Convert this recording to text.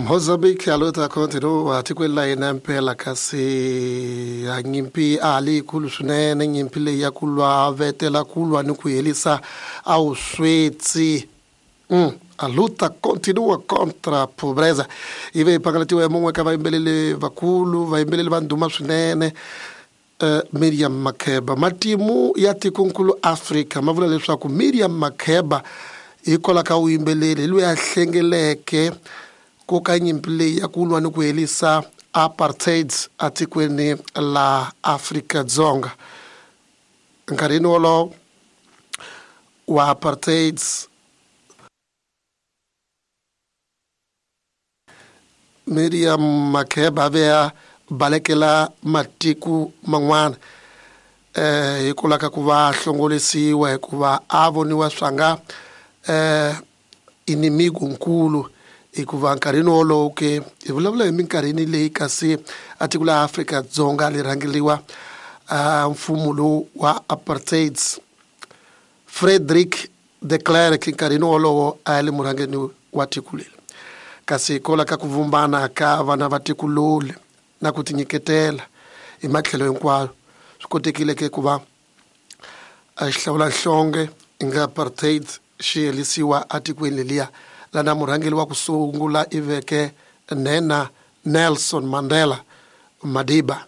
Mozambique a luta continua tikweni la hina mpela kasi a nyimpi a ha li yikulu swinene nyimpi leyi ya ku lwa vetela ku lwa ni ku herisa a vusweti. A luta continua contra pobreza yi ve yi phangalatiwa hi mun'we ka vayimbeleli vakulu vayimbeleli va ndhuma swinene. Miriam Makeba. Matimu ya tikonkulu Afrika ma vula leswaku Miriam Makeba hikwalaho ka vuyimbeleri hi loyi a hlengeleke ku ka nyimpi leyi ya ku lwa ni ku herisa apartheid atikweni la Afrika-Dzonga. Nkarhini wolowo wa apartheid Miriam Makeba a ve a balekela matiko man'wana eh hikwalaho ka ku va hlongolisiwa hikuva a voniwa swanga eh inimigo nkulu hikuva nkarhini wolowo ke hi vulavula hi minkarhini leyi kasi a tiko la Afrika-Dzonga li rhangeriwa mfumo lowu wa apartheid. Frederick De Klerk nkarhini wolowo a li murhangeni wa tiko leri. Kasi hikwalaho ka ku vumbana ka vana va tiko loli na ku tinyiketela hi matlhelo hinkwayo, swi kotekile ke ku va a xihlawulanhlonge inga apartheid xi herisiwa atikweni leliya lana murhangeri wa ku sungula i veke nhenha Nelson Mandela Madiba.